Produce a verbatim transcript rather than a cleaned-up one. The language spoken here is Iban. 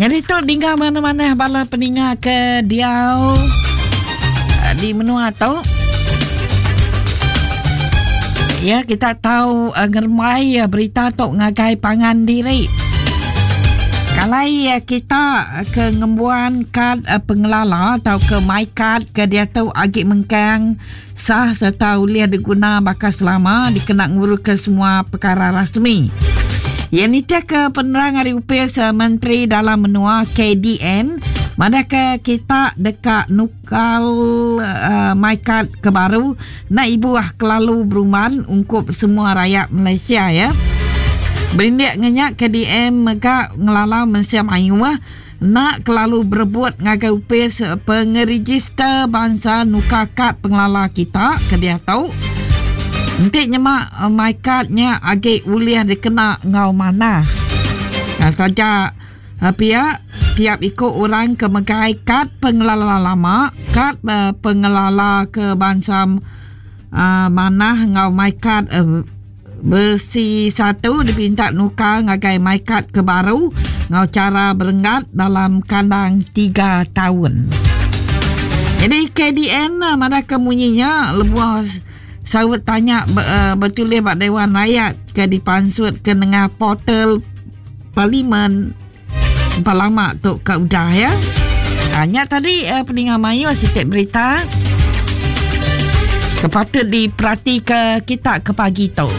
Jadi tu dingga mana-mana bala peninga ke diau eh, di menua tu. Ya, kita tahu uh, ngeremai uh, berita tu ngagai pangan diri. Kalai uh, kita ke ngembuan kad uh, pengelala atau ke MyKad ke dia tu agi mengkang sah serta uliah diguna bakal selama dikena ngurus ke semua perkara rasmi. Yang ni ke penerang hari upis Menteri Dalam Menua K D N mana ke kita dekat nukal uh, MyKad ke baru nak ibu ah kelalu beruman ungkup semua rakyat Malaysia ya. Berindik ngenyak K D M mega ngelala mensia mayu ah nak kelalu berebut ngagai upis pengeregister bangsa nukar kad pengelala kita ke dia tahu. Nanti nyemak uh, MyKadnya agi uliah dikena ngau mana. Nah, saja uh, pihak tiap ikut orang ke megai kad pengelala lama, kad uh, pengelala ke bangsa uh, mana ngau MyKad uh, besi satu dipinta nukar ngagai MyKad ke baru ngau cara berenggat dalam kandang tiga tahun. Jadi K D N mana kemunyinya lebuah sawut tanya uh, bertulis bak Dewan Rakyat ke dipansut ke nengah portal Parlimen Palama tu ke udah ya. Hanya tadi uh, peningan mayu sikit berita kepatut diperhati ke kita ke pagi tu.